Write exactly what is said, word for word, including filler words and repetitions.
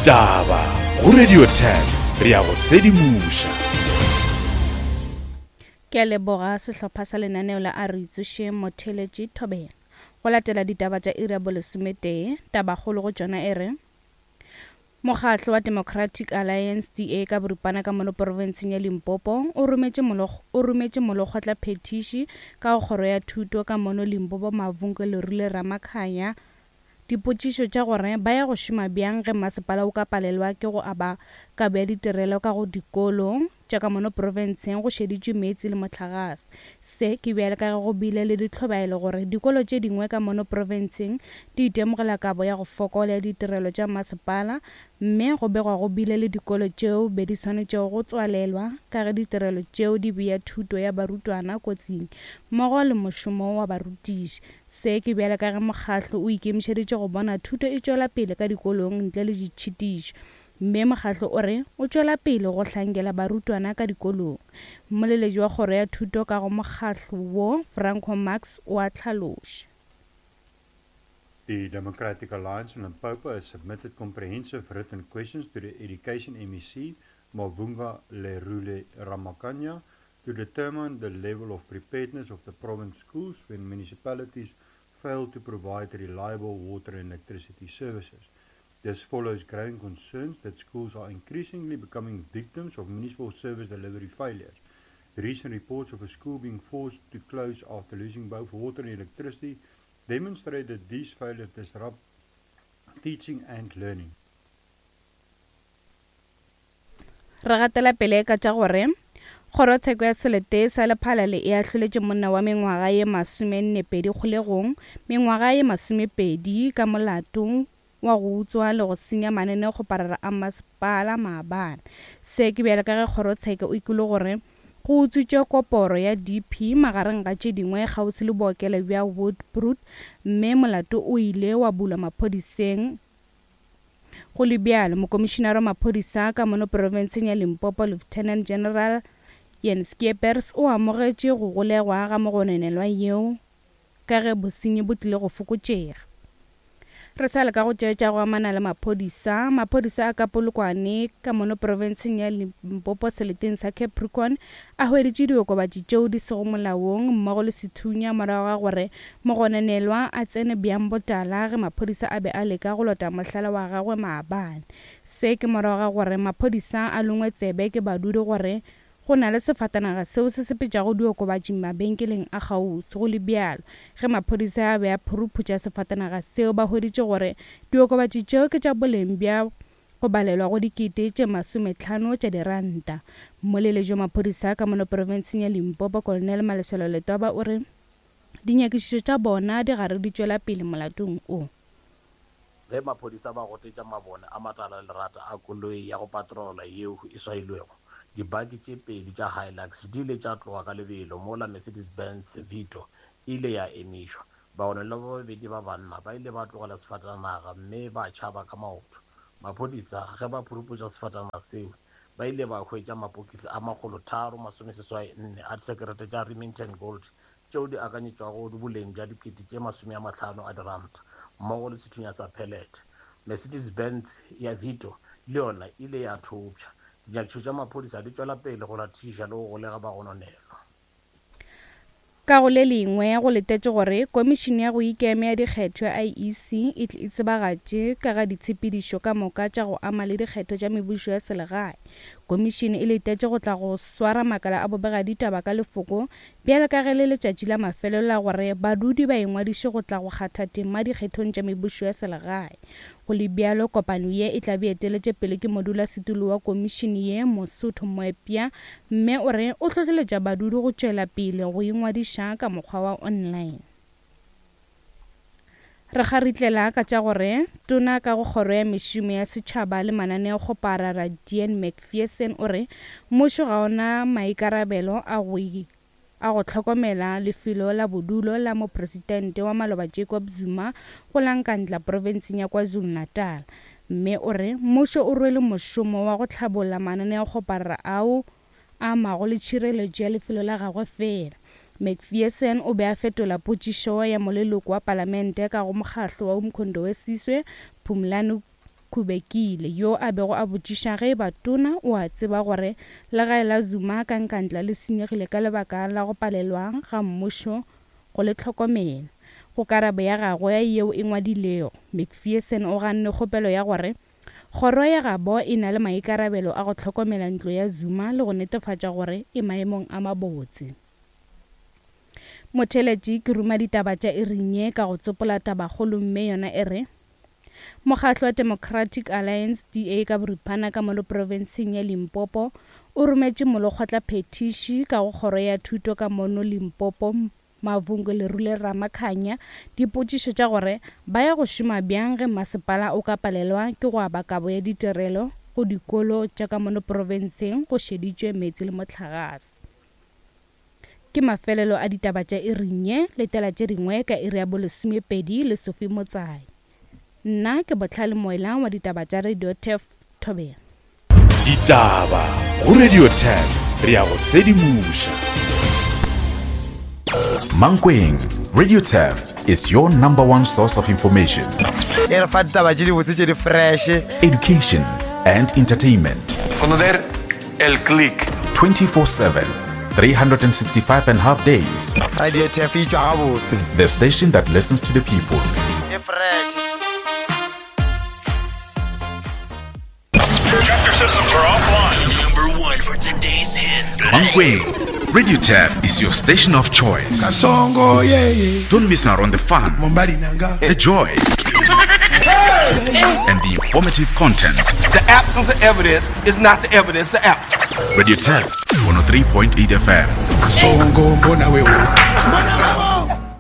Ditaba go Radio ten, re ya go sedimoša. Ke a leboga sehlopha sa lenaneo la A Re Itsošeng Motheeletši Thobela. Go latela ditaba tša iri ya bolesometee, tabakgolo go tšona e re Mokgatlo wa Democratic Alliance D A ka boripana ka mono porofenseng ya Limpopo o rometše o rometše molekgotlaphethiši ka go kgoro ya thuto ka mono Limpopo Mavungo Lerule Ramakhanya dipotšišo tša gore ba ya go šoma bjang ge masepala o ka palelwa ke go aba kabo ya ditirelo ka go dikolo tša ka mono porofenseng go šeditšwe meetse le mohlagase. Se ke bjale ka ge go bile le ditlhobaelo gore dikolo tše dingwe ka mono porofenseng di itemogela kabo ya go fokola ya ditirelo tša masepala, mme go begwa go bile le dikolo tšeo be di swanetšego go tswalelwa ka ge ditirelo tšeo di bea thuto ya barutwana kotsing mmogo le mošomo wa barutiši. Se ke bjale ka ge mokgatlo o ikemišeditše go bona thuto e tšwela pele ka dikolong ntle le ditšhitišo, mme mokgatlo o re o tšwela pele go hlankela barutwana ka dikolong. Mmoleletši wa kgoro ya thuto ka go mokgatlo wo, Franco Max, o a hlaloša. The Democratic Alliance in Limpopo has submitted comprehensive written questions to the Education M E C, Mavhunga Lerule Ramakhanya, to determine the level of preparedness of the province schools when municipalities fail to provide reliable water and electricity services. This follows growing concerns that schools are increasingly becoming victims of municipal service delivery failures. Recent reports of a school being forced to close after losing both water and electricity demonstrate that these failures disrupt teaching and learning. Re gatela pele ka tša gore kgorotsheko ya selete sa Lephalale e ahloletše monna wa mengwaga ye masomennepedi kgolegong mengwaga ye masomepedi ka molato wa go utswa le go senya mananeokgoparara a masepala maabane. Se ke bjale ka ge kgorotsheko o ikile gore go utswitše koporo ya D P magareng ga tše dingwe kgauswi le bookelo bja Woodbrook, mme molato o ile wa bulwa maphodiseng. Go le bjalo, mokomišinara wa maphodisa ka mono porofenseng ya Limpopo Lieutenant General Jens Skeepers o amogetše go golegwa ga mogononelwa yeo ka ge bosenyi bo tlile go fokotšega. Re sa le ka go tšeetša go amana le maphodisa. Maphodisa a ka Polokwane ka mono porofenseng ya Limpopo seleteng sa Capricorn a hweditše diokobatši tšeo di sego molaong mmogo le sethunya morago ga gore mogononelwa a tsene bjang botala ge maphodisa a be a leka go lota mohlala wa gagwe maabane. Se ke morago ga gore maphodisa a longwe tsebe ke badudi gore go na le sefatanaga seo se sepetšago diokobatši mabenkeleng a kgauswi. Go le bjalo, ge maphodisa a be a phuruphutša sefatanaga seo ba hweditše gore diokobatši tšeo ke tša boleng bja go balelwa go dikete tše masometlhano tša diranta. Mmoleletši wa maphodisa ka mono porofenseng ya Limpopo Colonel Maleselo Letwaba o re dinyakišišo tša bona di gare di tšwela pele molatong o. Ge maphodisa ba gotetša mabone a matala lerata a koloi ya go patrola yeo e swailwego, dibaki tše pedi tša Hilux di ile tša tloga ka lebelo mola Mercedes-Benz Vito e ile ya emišwa. Bagononelwa ba babedi ba banna ba ile ba tlogela sefatanaga mme ba tšhaba ka maoto. Maphodisa ge ba phuruphutša sefatanaga seo ba ile ba hwetša mapokisi a makgolo tharo masomeseswai nne a disekerete tša Remington Gold tšeo di akanyetšwago boleng bja dikete tše masome a mahlano a diranta mmogo le sethunya sa pellet. Mercedes-Benz ya Vito le yona e ile ya thopša. Dinyakišišo tša maphodisa di tšwela pele go latišiša le go golega bagononelwa. Ka go le lengwe go letetše gore komišene ya go ikema ya dikgetho ya I E C e tle e tsebagatše ka ga ditshepedišo ka moka tša go ama le dikgetho tša mebušo ya selegae. Komišene e letetše go tla go swara makala a bobegaditaba ka lefoko bjale ka ge le letšatši la mafelelo la gore badudi ba ingwadiše go tla go kgatha tema dikgethong tša mebušo ya selegae. Go le bjalo, kopano ye e tla be eteletše pele ke modulasetulo wa komišene ye Mosotho Moepya, mme o re o hlohleletša badudi go tšwela pele go ingwadiša ka mokgwa wa online. Re kgaritlela ka tša gore tona ka go kgoro ya mešomo ya setšhaba le mananeokgoparara Dean Macpherson o re mmušo ga ona maikarabelo a go a go hlokomela lefelo la bodulo la mopresidente wa maloba Jacob Zuma go la Nkandla profenseng ya KwaZulu-Natal. Mme o re mmušo o rwele mošomo wa go hlabolla mananeokgoparara ao a amago le tšhireletšo ya lefelo la gagwe fela. Macpherson o be a fetola potšišo ya moleloko wa palamente ka go mokgahlo wa Umkhonto we Sizwe Phumlani Kubekile yo a bego a botšiša ge eba tona o a tseba gore legae la Zuma ka Nkandla le senyegile ka lebaka la go palelwa ga mmušo go le hlokomela. Go karabo ya gagwe yeo e ngwadilego, Macpherson o ganne kgopelo ya gore kgoro ya gabo e na le maikarabelo a go hlokomela ntlo ya Zuma le go netefatša gore e maemong a mabotse. Motheletši ke ruma ditaba tša iring ye ka go tsopola tabakgolo mme yona e re Mokgatlo wa Democratic Alliance D A ka boripana ka mono profenseng ya Limpopo o rometše molekgotlaphethiši ka go kgoro ya thuto ka mono Limpopo Mavungo Lerule Ramakhanya dipotšišo tša gore ba ya go šoma bjang ge masepala o ka palelwa ke go aba kabo ya ditirelo go dikolo tša ka mono profenseng go šeditšwe meetse le mohlagase. Ke mafelelo a ditaba tša iring ye, letela tše dingwe ka iri ya bolesomepedi le Sophie Motsai. Nna ke Botlhale Moela wa ditaba tša Radio Turf Thobela. Ditaba go Radio Turf, re ya go sedimoša. Mankweng, Radio Turf is your number one source of information. E re fa ditaba tše dibotse tše di fresh. Education and entertainment. Conocer el click. twenty-four seven, three hundred sixty-five and a half days. Radio Turf e tšwa gabotse. The station that listens to the people. E fresh. Chapter systems are offline. Number one for today's hits. Mankweng, Radio Turf is your station of choice. Kasongo, yeah, yeah. Don't miss out on the fun, the joy, and the informative content. The absence of evidence is not the evidence of absence. Radio Turf, one oh three point eight F M. Kasongo, mbona wewe.